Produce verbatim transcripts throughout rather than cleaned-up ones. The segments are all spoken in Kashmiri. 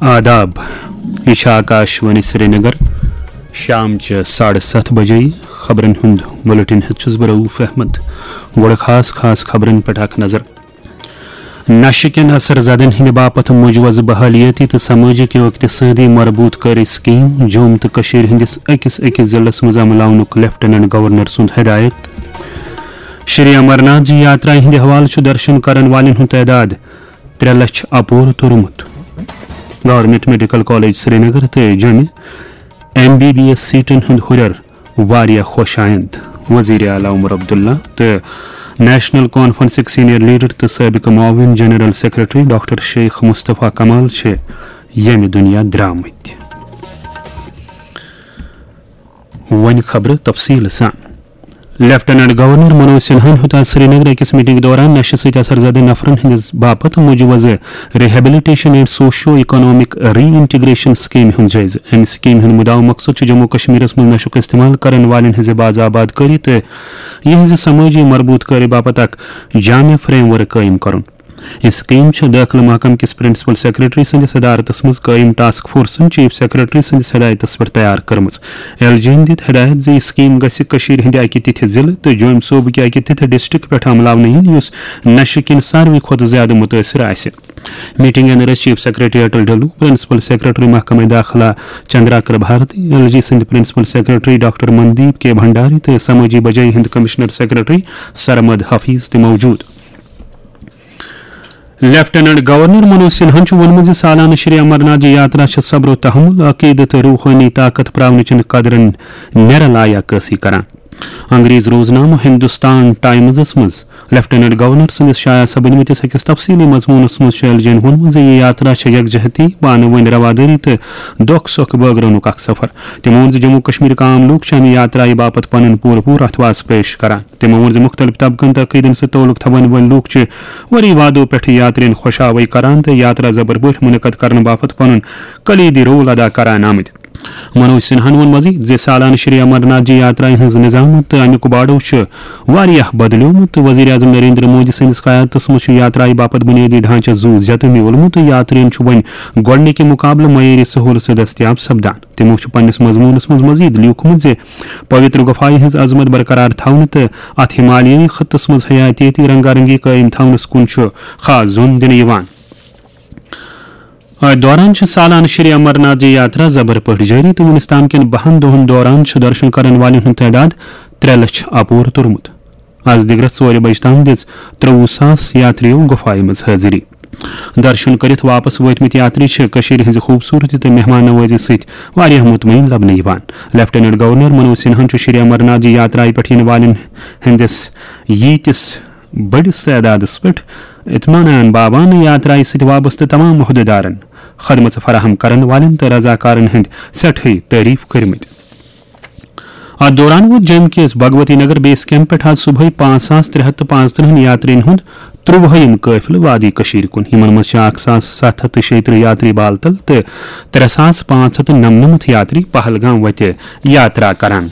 آداب، یہِ چھِ آکاش وانی سرینگر۔ شام چہِ ساڑٕ ستھ بجے خبرن ہُنٛد بُلٹن ہیٚتھ چھُس بہٕ رؤف احمد۔ گۄڈٕ خاص خاص خبرن پٮ۪ٹھ اکھ نظر۔ نشہٕ کٮ۪ن اثر زدن ہٕنٛدِ باپتھ مُجوزٕ بحالیٲتی تہٕ سمٲجی و اقتصٲدی مربوط کٲری سکیٖم۔ جوٚم تہٕ کٔشیٖرِ ہٕنٛدِس أکِس أکِس ضلعس منٛز عملاونُک لیفٹیننٹ گورنر سُنٛد ہدایت۔ شری امرناتھ جی یاترا ہٕنٛدِ حوالہٕ چھُ درشن کرن والٮ۪ن ہُنٛد تعداد ترٛےٚ لچھ اپور توٚرمُت۔ گورنمنٹ میڈیکل کالج سرینگر تہٕ جوٚمہِ ایم بی بی ایس سیٹن ہُنٛد ہُرٮ۪ر واریاہ خۄش آیند۔ وزیر اعلیٰ عمر عبداللہ تہٕ نیشنل کانفرنسٕکۍ سینئر لیڈر تہٕ سٲبقہٕ معاون جنرل سیکرٹری ڈاکٹر شیخ مصطفیٰ کمال چھِ ییٚمہِ دُنیا درٛامٕتۍ۔ وۄنۍ خبرٕ تفصیٖل سان۔ لیفٹیننٹ گورنر منوج سنہاہن ہیوٚت آز سرینگر أکِس میٹنگ دوران نشہٕ سۭتۍ اثر زدٕ نفرن ہٕنٛدِس باپتھ مُجوزٕ Rehabilitation and Socio Economic Reintegration Scheme ہُنٛد جٲیزٕ۔ امہِ سکیمہِ ہُنٛد مُدعا مقصد چھُ جموں کشمیرس منٛز نشُک استعمال کرن والٮ۪ن ہٕنٛزِ باز آباد کٲری تہٕ یِہنٛزِ سمٲجی مربوط کٲری باپتھ اکھ جامع فریم ورک قٲیِم کرُن۔ یہِ سکیٖم چھےٚ دٲخلہٕ محکمہٕ کِس پرنسپل سیکرٹری سٕنٛدِس صدارتس منٛز قٲیِم ٹاسک فورسن چیف سیکرٹری سٕنٛدِس ہدایتس پٮ۪ٹھ تیار کٔرمٕژ۔ ایل جی ین دِتۍ ہدایت زِ یہِ سکیٖم گژھِ کٔشیٖرِ ہٕنٛدِ اکہِ تِتھِ ضلعہٕ تہٕ جوٚمۍ صوبہٕ کہِ اکہِ تِتھِ ڈسٹرکٹ پٮ۪ٹھ عملاونہٕ یِنۍ، یُس نشہٕ کِنۍ ساروٕے کھۄتہٕ زیادٕ مُتٲثر آسہِ۔ میٹنگ اندر ٲسۍ chief secretary Atal Dulloo, principal secretary محکمہ داخلہ چندراکر بھارتی، ایل جی سٕنٛدۍ principal secretary doctor Mandeep K Bhandari تہٕ سمٲجی بجٲیی ہٕنٛدۍ کمشنر سیکرٹری سرمد حفیظ تہِ موجود۔ لیفٹیننٹ گورنر منوج سنہاہن چھُ ووٚنمُت زِ سالانہٕ شری امرناتھ جی یاترا چھِ صبر و تحمل، عقیدٕ تہٕ روحٲنی طاقت پراونٕچن قدرن نیرٕ لا عکٲسی کران۔ انگریز روزنامہٕ ہندوستان ٹائمزس منٛز لیفٹیننٹ گورنر سٕنٛدِس شایع سپدمٕتِس أکِس تفصیلی مضموٗنس منٛز چھُ ایل جی ین ووٚنمُت زِ یہِ یاترا چھےٚ یکجہتی، پانہٕ وٲنۍ روادٲری تہٕ دۄکھ سۄکھ بٲگراونُک اکھ سفر۔ تٔمۍ ووٚن زِ جموں کشمیرٕکۍ عام لوٗکھ چھِ امہِ یاترایہِ باپتھ پنُن پوٗرٕ پوٗرٕ اتھواس پیش کران۔ تٔمۍ ووٚن زِ مُختٔلِف طبقن تہٕ عقیٖدن سۭتۍ تعلق تھاون وٲلۍ لوٗکھ چھِ ؤری وادو پٮ۪ٹھٕ یاترین خۄش آوٲیی کران تہٕ یاترا زبر پٲٹھۍ منعقد کرنہٕ باپتھ پنُن کلیدی رول ادا کران آمٕتۍ۔ منوج سنہاہن ووٚن مزید زِ سالانہٕ شری امرناتھ جی یاترایہِ ہٕنٛز نظامت تہٕ امیُک باڈو چھُ واریاہ بدلیومُت تہٕ وزیر اعظم نریندر مودی سٕنٛدِس قیادتس منٛز چھُ یاترایہِ باپتھ بُنیٲدی ڈھانچس زُو زیتہٕ میوٗلمُت تہٕ یاترین چھُ وۄنۍ گۄڈٕنِکہِ مُقابلہٕ معیٲری سہولژٕ دٔستیاب سپدان۔ تِمو چھُ پننِس مضموٗنس منٛز مزید لیوٗکھمُت زِ پویتر گُفایہِ ہٕنٛز عظمت برقرار تھاونہٕ تہٕ اتھ ہمالیٲیی خطس منٛز حیاتیٲتی رنگا رنگی قٲیِم تھاونس کُن چھُ خاص زوٚن دِنہٕ یِوان۔ اتھ دوران چھِ سالانہٕ شری امرناتھ جی یاترا زبر پٲٹھۍ جٲری تہٕ وُنِس تام کٮ۪ن بَہَن دۄہَن دوران چھُ درشن کرن والٮ۪ن ہُنٛد تعداد ترٛےٚ لچھ اپور توٚرمُت۔ از دِگرس ژورِ بجہِ تام دِژ ترٛۆوُہ ساس یاترِیو گُفایہِ منٛز حٲضری۔ درشن کٔرِتھ واپس وٲتمٕتۍ یاتری چھِ کٔشیٖرِ ہٕنٛزِ خوٗبصوٗرتی تہٕ مہمان نوٲزی سۭتۍ واریاہ مطمئن لبنہٕ یِوان۔ لیفٹیننٹ گورنر منوج سنہاہن چھُ شری امرناتھ جی یاترایہِ پٮ۪ٹھ یِنہٕ والٮ۪ن ہٕنٛدِس ییٖتِس بٔڑِس تعدادس پٮ۪ٹھ اطمینان باوان یاترایہِ سۭتۍ وابستہٕ تمام عہدیدارن، خدمژٕ فراہم کرن والٮ۪ن تہٕ رضاکارن ہٕنٛدۍ سٮ۪ٹھٕے تعریف کٔرمٕتۍ۔ اتھ دوران ووت جوٚم کِس بھگوتی نگر بیس کیمپ پٮ۪ٹھ آز صبحٲے پانٛژھ ساس ترٛےٚ ہتھ تہٕ پانٛژترٕہن یاترین ہُنٛد ترٛۆوُہِم قٲفلہٕ وادی کٔشیٖرِ کُن۔ یِمن منٛز چھِ اکھ ساس ستھ ہتھ تہٕ شیٚیہِ ترٕٛہ یاتری بالتل تہٕ ترٛےٚ ساس پانٛژھ ہتھ تہٕ نَمنَمَتھ یاتری پہلگام وتہِ یاترا کران۔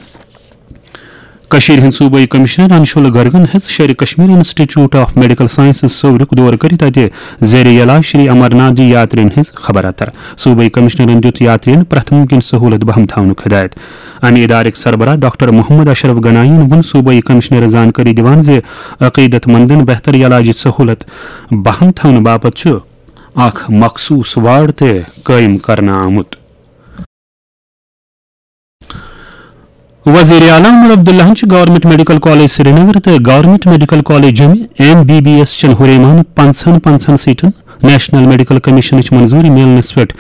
کٔشیٖرِ ہٕنٛدۍ صوبٲئی کمشنر انشول گرگن ہیٚژ Sher-e Kashmir institute of medical sciences صوورُک دورٕ کٔرِتھ اتہِ زیر یلاج شری امرناتھ جی یاترین ہٕنٛز خبر اتر۔ صوبٲئی کمشنرن دِیُت یاترین پرٛٮ۪تھ مُمکِن سہولت بہم تھاونُک ہدایت۔ امہِ ادارٕکۍ سربراہ ڈاکٹر محمد اشرف گنائی ین ووٚن صوبٲئی کمشنرس زانکٲری دِوان زِ عقیدت مندن بہتر یلاجی سہولت بہم تھاونہٕ باپتھ چھُ اکھ مخصوص وارڈ تہِ قٲیِم کرنہٕ آمُت۔ وزیر اعلیٰ عمر عبداللہن چھِ گورنمنٹ میڈیکل کالج سرینگر تہٕ گورنمنٹ میڈیکل کالج جوٚمہِ ایم بی بی ایس چٮ۪ن ہُریمان پنٛژاہن پنٛژاہن سیٹن نیشنل میڈیکل کمیشنٕچ منظوٗری میلنس پٮ۪ٹھ